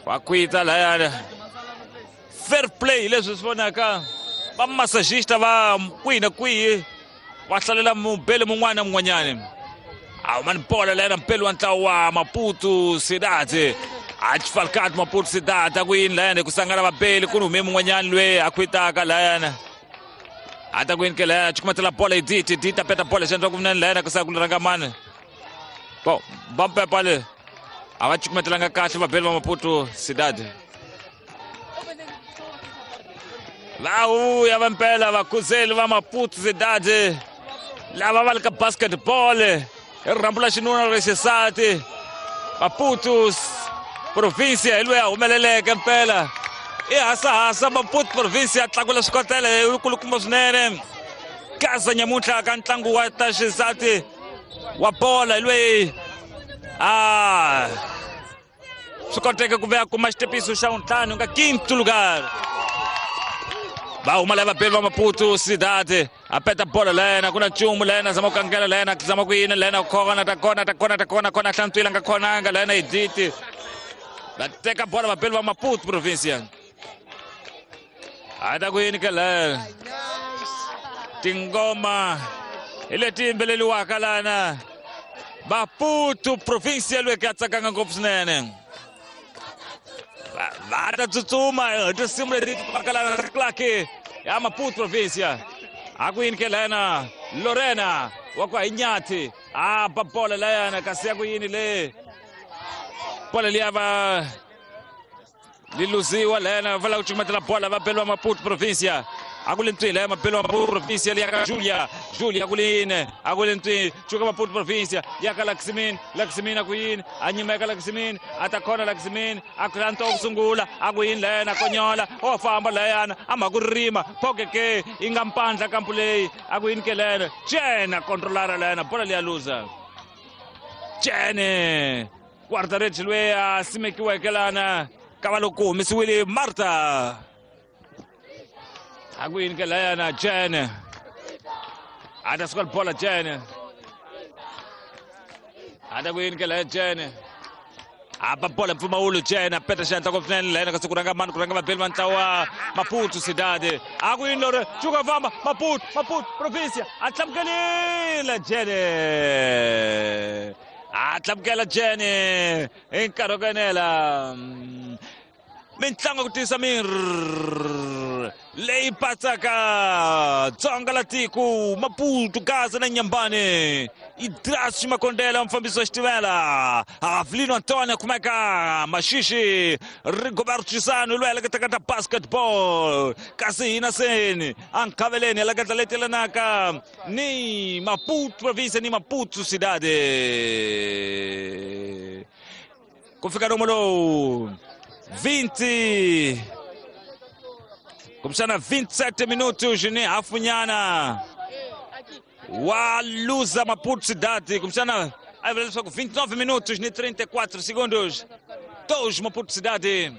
Va kwita layana. Fair play leswi swi vonaka va massagista va kwihi na kwihi va hlalela mubeli mun'wana na mun'wanyana. A huma ni bola layana mpeli wa ntlawa wa Maputo Cidade. A Falcado Maputo Cidade a ku yini layana ku sangana vabeli ku ni hume mun'wanyana loyi a khwitaka layana. A ta ku yini ke layana cukumetela bola Edith, Edith a peta bola xandla ku vunene layana ku sa ku rhanga mani. Bon, va mpepa le a va cukumetelanga kahle vabeli va Maputo Cidade. Va vuya va mpela vakhuzeli va Maputo Cidade lava va le ka basketball hi rirhambu la xinuna ra xisati. Maputo provincia hi loyi a humeleleke mpela i hasahasa Maputo provincia a tlakula swikotela hi kulukumba swinene. Gaza nyamuntlha ka ntlangu wa ta xisati wa bola hi loyi a swi koteke ku ve a kuma xitepiso xa vuntlhanu nga quinto lugar. Va huma lava vabeli va Maputo Cidade a peta bola layena ku na nchumu layena zama ku kangela layena zama ku yini layena ku khona ta kona ta kona ta kona kona hlantswile nga khonanga layena Edith. Va teka bola vabeli va Maputo provincia. A ta ku yini ke layena tingoma hi leti yimbeleriwaka lana Maputo provincia loyi ka tsakanga ngopfu swinene. Va ta tsutsuma hi tinsimu leti pakalana Clark ya Maputo provincia. A ku yini ke layana Lorena wa ku hi a ba bola layana kasi ya ku yini le bola liya va li luziwa layana va lava ku cukumetela bola va beliwa Maputo provincia. A ku le ntwini laya mabelo Maputo provincia liya ka Julia, Julia ku le yini a ku le ntwini cuka Maputo provincia ya ka Laxmin, Laxmin a ku yini a nyimeka Laxmin a ta khona Laxmin a ku hlantswa ku sungula a ku yini layana konyola o famba layana a mha ku rima phoke ke yi nga mpandla kampu leyi a ku yini ke layana Jene a controlara layana bola liya luza Jene guarda-redes loyi a simekiweke lana ka va loko ku humesiwile Marta. A ku yini ke layana Jene a ta suka bola Jene a ta ku yini ke laya Jene a ba bola mpfumawulo Jene a peta xandla ngopfu swinene layana kasi ku rhanga mani ku rhanga vabeli va ntlawa Maputo Cidade. A ku yini lori cuka famba Maputo, Maputo provincia a tlamukelile Jene a tlamukela Jene hi nkarhi wa ku enela. Mintlangu ku tiyisa miri leyi patsaka Dzonga la tiko Maputo Gaza na Nyambane Idras Makondela mufambisi wa xitivela Avelino Antonio kumeka Maxixi Rigoberto Chisano loyi a leketaka ta basketball kasi hina seni a nkhaveleni a leketa leti yelanaka ni Maputo provincia ni Maputo Cidade. Ku fika nomo lowu 20 kumbexana 27 minutos ni hafunyana wa luza Maputo Cidade kumbexana a vula leswaku 29 minutos ni 34 segundos 2 Maputo Cidade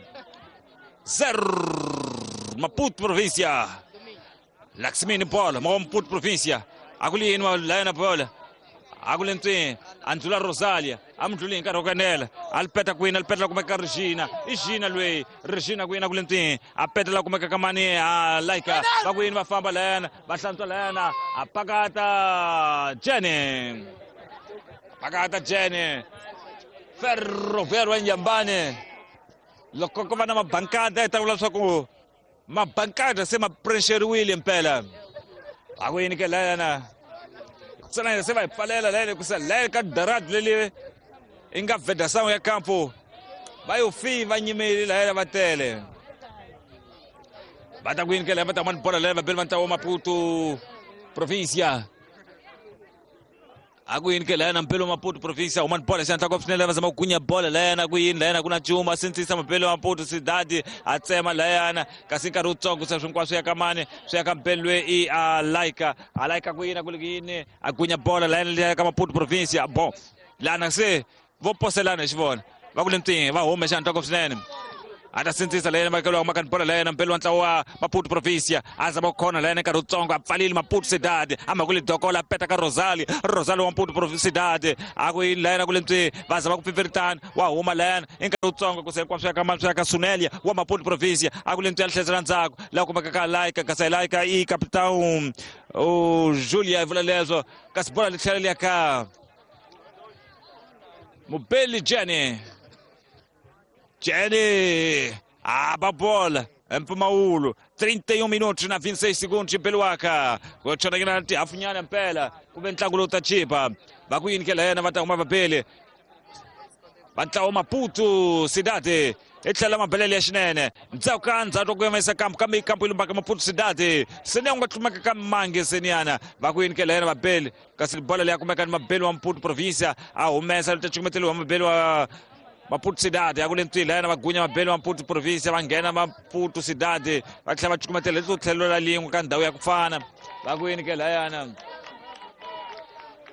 0 Maputo provincia. Laxmini bola Maputo provincia a ku li yini wa layana bola a ku le ntswini a ndlula Rosalia a mi ndluli hi nkarhi wa ku enela a li peta kwini a li petela kumeka Regina i Gina loyi Regina kwini a ku le ntswini a petela kumeka ka mani a Laika va ku yini va famba layana va hlantswa layana a pakata Jene pakata Jene Ferroviário wa Inhambane loko ko va na mabankada hi ta vula leswaku mabankada se ma pressuriwile mpela a ku yini ke layana ntsena se va hi pfalela layana ku sa laya ka daradi leli i nga vedação ya campo va yo fi va nyimeli layana va tele va ta ku yini ke laya va ta mani bola laya va beli va ntlawa Maputo provincia a ku yini ke layana mpelo Maputo provincia humani bola xandla ngopfu swinene va zama ku gunya bola layana ku yini layana ku na nchumu a sindzisa mapelo Maputo Cidade a tsema layana kasi nkarhi wutsongo se swinkwaswo ya ka mani swi ya ka mpelo loyi i a Laika a Laika ku yini a ku le ku yini a gunya bola layana liya ka Maputo provincia bon lana se vo poselana hi xivona va ku le ntwini va hume xandla ngopfu swinene. A ta sindzisa la yena makelo wa makani bola la yena mpelo wa ntlawa wa Maputo Provincia a zama ku khona la yena nkarhi wutsongo a pfalile Maputo Cidade a mhaka le dokola a peta ka Rosalie Rosalie wa Maputo Cidade a ku yini la yena ku le ntswi va zama ku pfipfiritana wa huma la yena i nkarhi wutsongo ku se hinkwaswo ya ka swi ya ka Sunelia wa Maputo Provincia a ku le ntswi ya tlherisela ndzhaku laha kumeka ka Laika kasi Laika i capitão o Julia i vula leswo kasi bola li tlhela li ya ka Mubeli Jenny Jenny aba bola mpfumawulo 31 minutos na 26 segundos Beluaka ku chonekela tihafunyana mpela ku ve ntlangu lowu ta chipa va ku yini ke la yena va ta huma vabeli va ntlawa Maputo Cidade i tlhela mabelele ya xinene ndzhaku ka ndzhaku ku yimisa kampu kambe kampu yi lumbaka Maputo Cidade seni ya ku nga tlumeka ka mangi seniyana va ku yini ke la yena vabeli kasi bola leyi ya kumeka ni mabeli wa Maputo Provincia a humesa lu ta cukumeteliwa mabeli wa Maputo Cidade ya ku le ntswini la yena va gunya mabeli wa Maputo Provincia va nghena Maputo Cidade va tlhela va cukumetela leswo tlhelo ra lin'we ka ndhawu ya ku fana va ku yini ke layana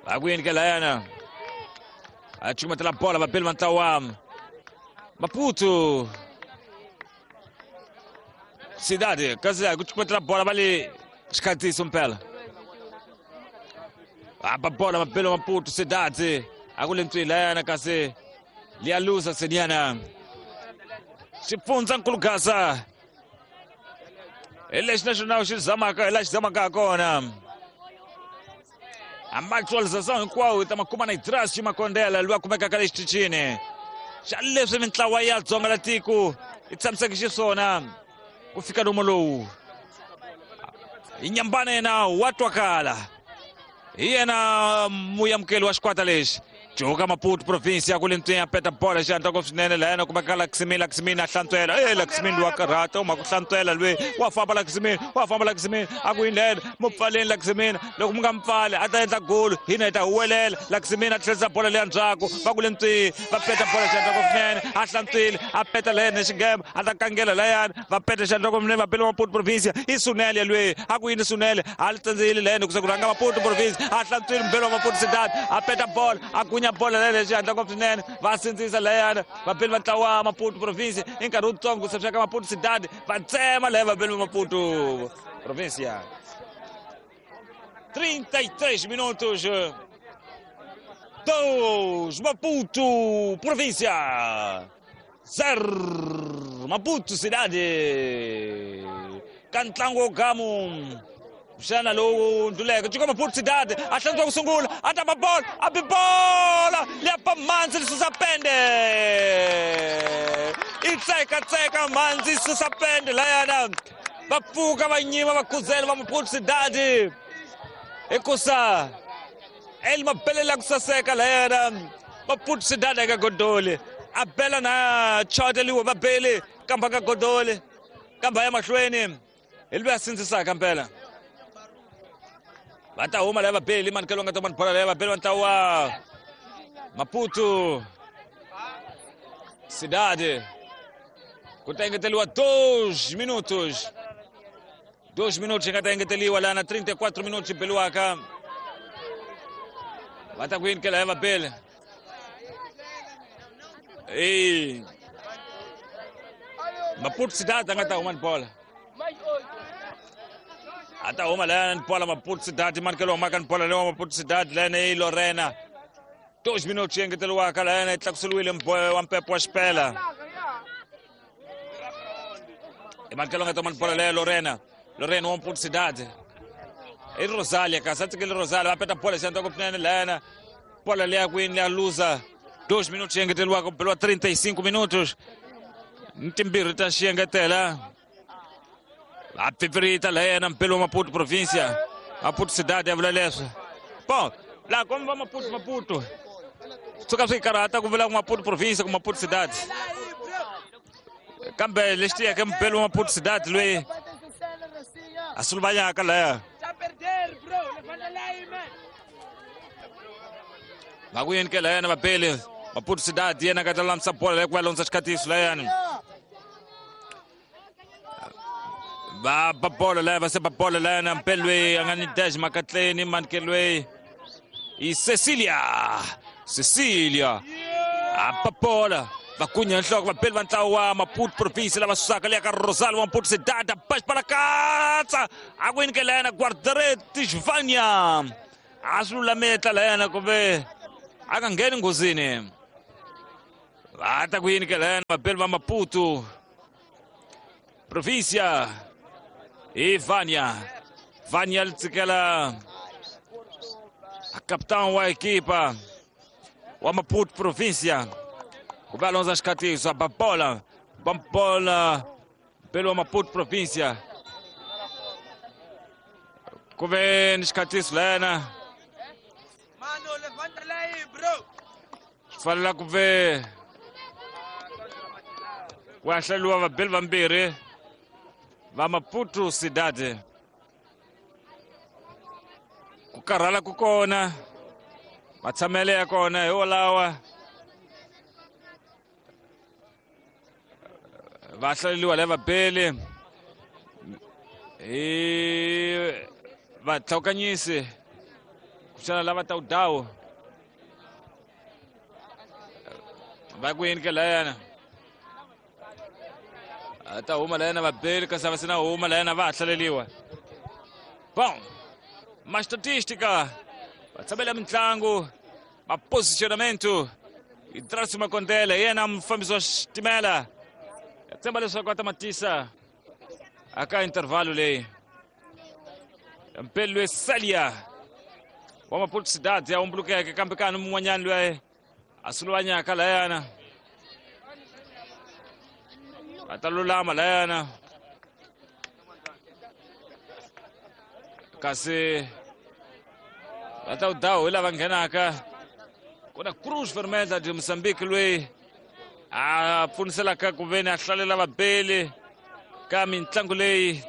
va ku yini ke layana a cukumetela bola vabeli va ntlawa wa Maputo Cidade kasi ku cukumetela bola va le xikhatiso mpela aba bola mabeli wa Maputo Cidade a ku le ntswini layana kasi liyaluza seniana xipfundza nkulugasa hi lexi naxona xi zamaka hi laha xi zamaka kona amaxualização hinkwawo hi ta makuma na Idras Ximakondela loyi a kumekaka le xitichini xa leswi mintlawa ya dzonga la tiko yi tshamiseke xiswona ku fika lomu lowu hi nyambana yena wa twakala hi yena muyamukeli wa xikwata lexi Joka Maputo Province ya kule ntswenya peta bola xihatla ngopfu swinene la yena kumeka Laxmin Laxmin a hlantswela e Laxmin wa karhata u mhaka ku hlantswela lwe wa famba Laxmin wa famba Laxmin a ku yini mu pfaleni Laxmin loko mu nga mu pfali a ta endla golo hina hi ta huwelela Laxmin a tlherisa bola leya ndzhaku va kule ntswi va peta bola xihatla ngopfu swinene a hlantswile a peta la yena xinghema a ta kangela layani va peta xihatla ngopfu swinene va bele Maputo Province i Sunele lwe a ku yini Sunele a li tsandzeyile la yena ku se ku rhanga Maputo Province a hlantswile mubelo wa Maputo Cidade a peta bola a gunya bola leyo xihatla ngopfu swinene va sindzisa layana vabeli va ntlawa Maputo Province i nkarhi wutsongo ku se ka Maputo Cidade va tsema laya vabeli va Maputo Province 33 minutos 2 Maputo Província 0 Maputo Cidade ka ntlangu wo gamu xana lowu ndluleke cuka Maputo Cidade a hlantswa ku sungula a ta ba bola a bi bola liya pa mhandzi li susa pende i tsekatseka mhandzi susa pende layana va pfuka va nyima va khuzela va Maputo Cidade hikusa el mabelela ku saseka layana Maputo Cidade eka godoli a bela na choteliwe va beli kamba ka godoli kamba ya mahlweni hi loyi a sindzisaka mpela va ta huma laya vabeli manikelo nga ta mani bola laya vabeli va ntlawa Maputo Cidade ku ta engeteliwa 2 minutos 2 minutos nga ta engeteliwa lana 34 minutos beliwaka va ta ku yini ke laya vabeli e Maputo Cidade a nga ta huma ni bola a ta huma layana ni bola Maputo Cidade manikelo humaka ni bola lewa Maputo Cidade layana i Lorena 2 minutos engeteriwaka layana yi tlakuseriwile wa mpepo wa xipela i manikelo nga ta huma ni bola leya Lorena Lorena wa Maputo Cidade i Rosalia kasi a tsikele Rosalia va peta bola xandla ku swinene layana bola leya kwini leya luza 2 minutos engeteriwaka ku beliwa 35 minutos ni timbirhi ta xiengetela a pfipfirita la yena mpelo wa Maputo Provincia Maputo Cidade ya vula leswo bon laha komba va Maputo Maputo suka swi karhata ku vula ku Maputo Provincia ku Maputo Cidade kambe lexi tiyeke mpelo wa Maputo Cidade loyi a suluvanyaka laya va ku yini ke layani vabeli Maputo Cidade yena ka ta lulamisa bola leyi ku va londza xikhatiso layani va ba bolo laya va se ba bolo layani mpele loyi a nga ni dash makatleni manike loyi i Cecilia Cecilia a ba bola Va kunya nhloko vabeli va ntlawa wa Maputo Province lava susaka leya ka Rosario wa Maputo Cidade Paxipalakatsa a ku yini ke layena Guardareti Vanya a swi lulamile layena kumbe a nga ngheni nghozini. Va ta ku yini ke layena vabeli va Maputo Provincia i Vanya. Vanya li tsikela capitão wa equipa wa Maputo Provincia ku va lonza xikhatiso a ba bola ba bola mpelo wa Maputo Provincia ku ve ni xikhatiso layena. Mano, levanta aí, bro. Swi fanela ku ve ku ya hlaleriwa vabeli vambirhi va Maputo Cidade. Ku karhala ku kona, matshamele ya kona hi wolawa. Va hlaleriwa lava vabeli hi vatlhawukanyisi kuxana lava ta udawu va ku yini ke layana a ta huma layana vabeli kasi a va se na huma layana va ha hlaleriwa. Bom, ma estatística, va tshamela mitlangu, ma posicionamento Idracio Makondele yena mufambisi wa xitimela ya tshemba leswaku a ta matisa aka intervalo leyi. Mpeli loyi Celia wa Maputo Cidade ya humbulukeke kambe kani mun'wanyani loyi a suluvanyaka layana a ta lulama layana kasi va ta udawu hi lava nghenaka. Ku na Cruz Vermelha de Mozambique loyi a pfuniselaka ku veni a hlalela vabeli ka mitlangu leyi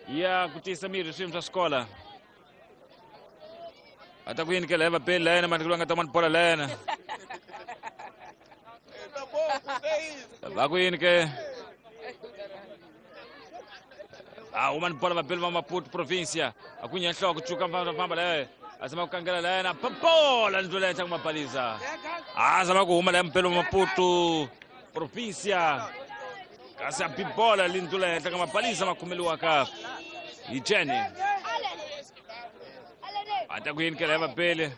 ya ku tiyisa miri swiyimo swa swikola. A ta ku yini ke laya vabeli layena mani loyi a nga ta mani bola layena va ku yini ke a huma ni bola vabeli va Maputo Provincia a ku nhloko cuka famba laya a zama ku kangela layena bola ndlela henhla ku mabaliza a zama ku huma laya mpelo wa Maputo Provincia kasi a bibola lindlula henhla ka mabaliza ma khomeliwaka hi Jenny. A ta ku yini ke laya vabeli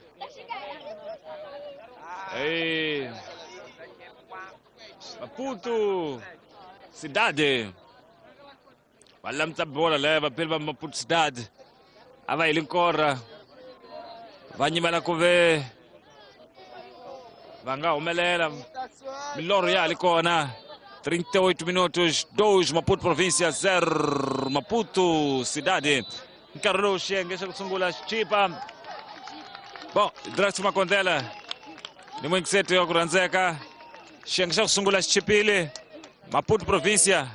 Maputo Cidade va lamta bola laya vabeli va Maputo Cidade a va heli nkorha va nyimela ku ve va nga humelela milorho ya ha li kona. 38 minutos 2 Maputo Provincia 0 Maputo Cidade. Nkarhi lowu xiyenge xa ku sungula xichipa. Bon, Drax Makondela ni muyingiseti wa ku rhandzeka. Xiyenge xa ku sungula xichipile Maputo Provincia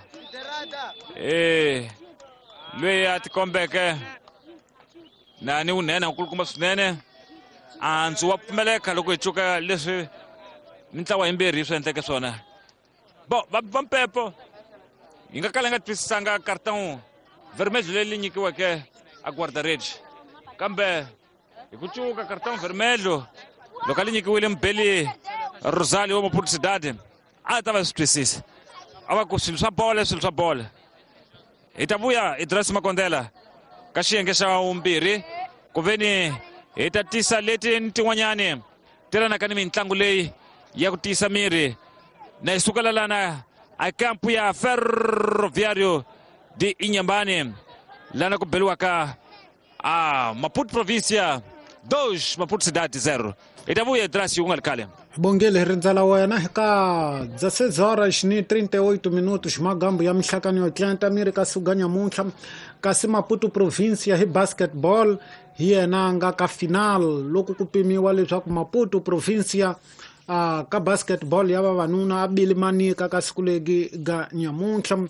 loyi a tikombeke na ni wunene nkulukumba swinene andzu wa pfumeleka loko hi cuka leswi mintlawa yimbirhi swi endleke swona. Bon, va mpepo yi nga kala yi nga twisisanga cartão vermelho leri nyikiweke a guarda-redes kambe hi ku cuka cartão vermelho loko a li nyikiwile mubeli Rosario wa Maputo Cidade a ta va swi twisisa a va ku swilo swa bola swilo swa bola. Hi ta vuya Idris Makondela ka xiyenge xa vumbirhi ku veni hi ta tisa leti ni tin'wanyani telanaka ni mitlangu leyi ya ku tiyisa miri na hi sukela lana a kampu ya Ferroviário de Inhambane lana ku beliwaka a Maputo Provincia 2 Maputo Cidade 0. Hi ta vuya Idris ku nga ri khale. Bongile rindzela wena ka 16 horas ni 38 minutos magambu ya mihlakano yo tlanta miri ka suga nyamuntlha kasi Maputo Provincia hi basketball hi yena nga ka final loko ku pimiwa leswaku Maputo Provincia ka basketball ya vavanuna a bili manika ka siku legi ga nyamuntlha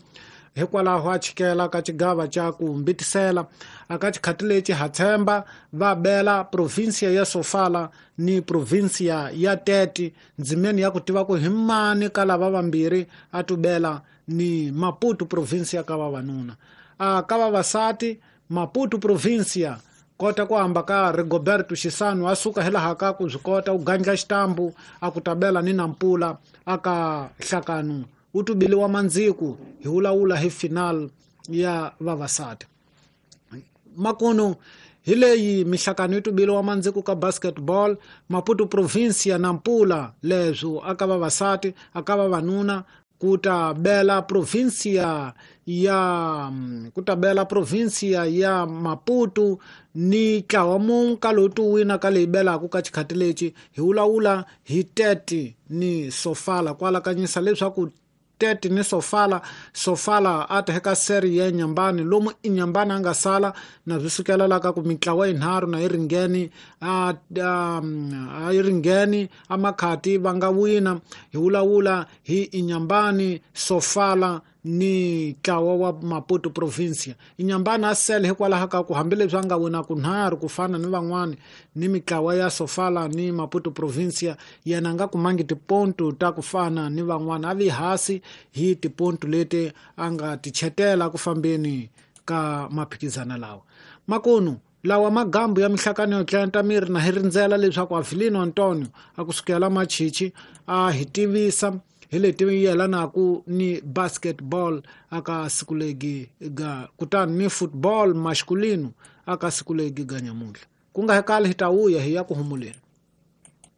hikwalaho a chikela ka xigava xa ku mbitisela aka xikhati lexi ha tshemba va bela provincia ya Sofala ni provincia ya Tete ndzimeni ya ku tiva ku hi mani ka lava vambirhi a tubela ni Maputo Provincia ka vavanuna ka vavasati Maputo Provincia Kota ku hamba ka Rigoberto Xisano a suka hilaha ka ku swi kota u gandla xitambu a ku tabela ni Nampula aka hlakano wu tubiliwa mandziku hi wulawula hi final ya vavasati. Makuno hi leyi mihlakano yi tubiliwa mandziku ka basketball Maputo province ya Nampula leswo aka vavasati aka vavanuna ku ta bela provinsia ya ku ta bela provinsia ya Maputo ni ntlawa mung ka lowu ti wina ka leyi belaka ka xikhati lexi hi wulawula hi Tete ni Sofala ku alakanyisa leswaku Tete ni Sofala Sofala a ta eka seri ya Nyambani lomu Inyambani a nga sala na swi sukela la ka ku mitlawa yinharhu na yi ringeni a yi ringeni a makhati va nga wina hi wulawula hi Inyambani Sofala ni ntlawa wa Maputo province. Inyambani a sele hikwalaho ka ku hambileswi a nga wina kunharhu ku fana ni van'wani ni mitlawa ya Sofala ni Maputo province, yena a nga kumangi tipontu ta ku fana ni van'wana, a vi hasi hi tipontu leti a nga ti chetela ku fambeni ka maphikizana lawa. Makunu lawa magambu ya mihlakano yo tlenta miri na hi rindzela leswaku Avelino Antonio a kusukela Machichi a hi tivisa hi leti yelanaku ni basketball aka siku legi ga kutani ni football masculino aka siku legi ga nyamuntlha. Ku nga hekali hi ta vuya hi ya ku humuleni.